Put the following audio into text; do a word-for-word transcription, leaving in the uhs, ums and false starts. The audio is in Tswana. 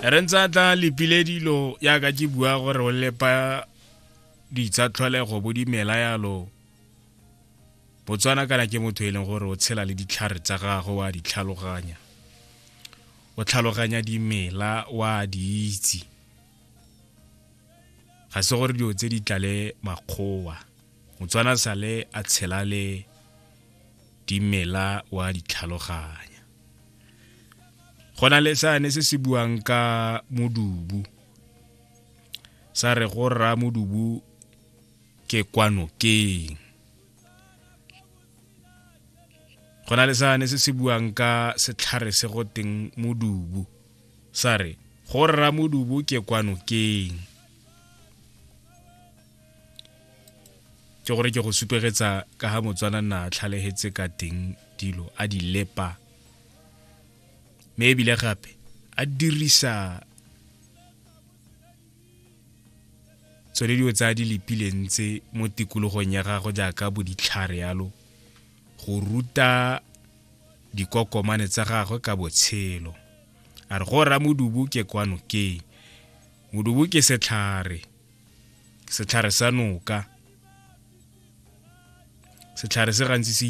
Re ntse a tla lepile dilo yaka ke bua gore o lepa ditsa tlholego bo dimela yalo. Botswana kana ke motho e leng gore o tshela le ditlhare tsa gagwe, wa di tlhaloganya, o tlhaloganya dimela, wa di itse. Ga se gore dilo tse di tlale makgowa, Motswana sale a tshela le dimela, wa di tlhaloganya. Go na le sane se se buang ka modubu, sa re go rra modubu ke kwa nokeng. Go na le sane se se buang ka setlhare se go teng modubu, sa re go rra modubu ke kwa nokeng. Ke gore ke go supegetsa ka ga Motswana nna a tlhalegetse ka teng dilo a di lepa, mme ebile gape a dirisa tsone dilo tse a di lepileng tse mo tikologong ya gagwe jaaka bo ditlhare yalo, go ruta dikokomane tsa gagwe ka botshelo. A re go rra modubu ke kwa nokeng. Modubu ke setlhare, setlhare sa noka. Setlhare se gantsi se